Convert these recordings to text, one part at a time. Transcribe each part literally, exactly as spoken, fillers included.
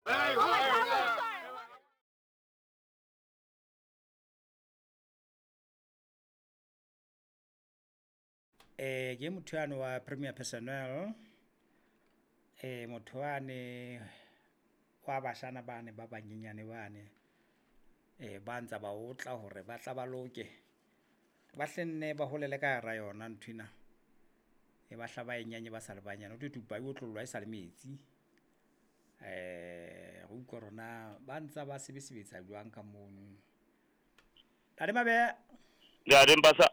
Oh my God, I'm sorry. Eh ke motho yane wa Premier Personnel, eh motho wane wa bashana bane ba banyenyane bane eh ba ntsa ba otla hore ba tla ba loke, ba hlenne ba holele ka hara yona nthwena. E ba hla ba e nyanye ba sa le banyane, ho thwe thupa e otlollwa e sa le metsi. Eh re utlwe hore na ba ntsa ba sebesebetsa jwang ka mono. Ntate Mabeya. Ntate Mpasa.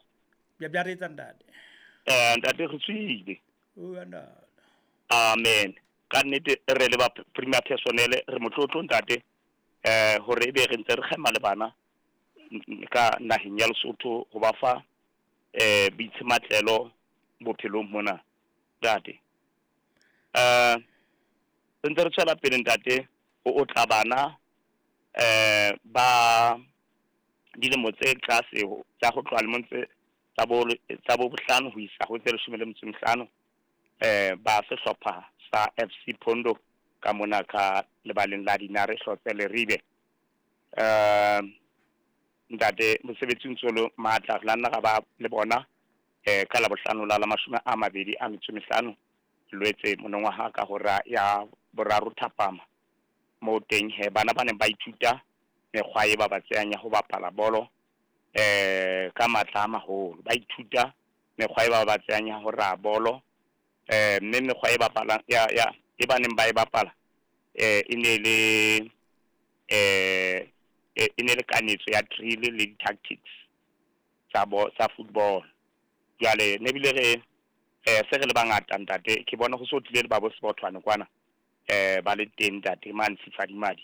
Bja bja re etsa ntate. Eh ntate re tswile. O ntate. Amen. Ka nnete re le ba Premier Personnel re motlotlo ntate eh hore ebe re ntse re kgema le bana ka naheng ya Lesotho ho ba fa eh boitsematlelo bophelong mona ntate. Eh re ntse re tswela pele ntate ho otla bana eh ba dilemo tse tlase tsa ho tloha lemong tse tsa bo tsa bo bohlano ho isa ho tse leshome le metso e mehlano eh ba sehlopha sa F C Pondo ka mona ka lebaleng la Dinare Hlotse Leribe. Eh ntate mosebetsi o ntso le matla re la nna ra ba le bona eh ka labohlano la la mashome a mabedi a metso e mehlano Lwetse monongwaha ka hora ya boraro thapama mo teng he bana ba neng ba ithuta mekgwa e ba ba tseyang ya ho bapala bolo eh ka matla a maholo, ba ithuta mekgwa e ba ba tseyang ya ho raha bolo eh mme mekgwa e bapalang ya ya e ba neng ba e bapala eh e ne le eh e ne le kanetso ya drill le di-tactics tsa bo tsa football. Jwale ne bile re eh se re le bangata ntate ke bona ho so tlile le ba bo Sebothwane kwana eh ba le teng ntate mane Sifadimadi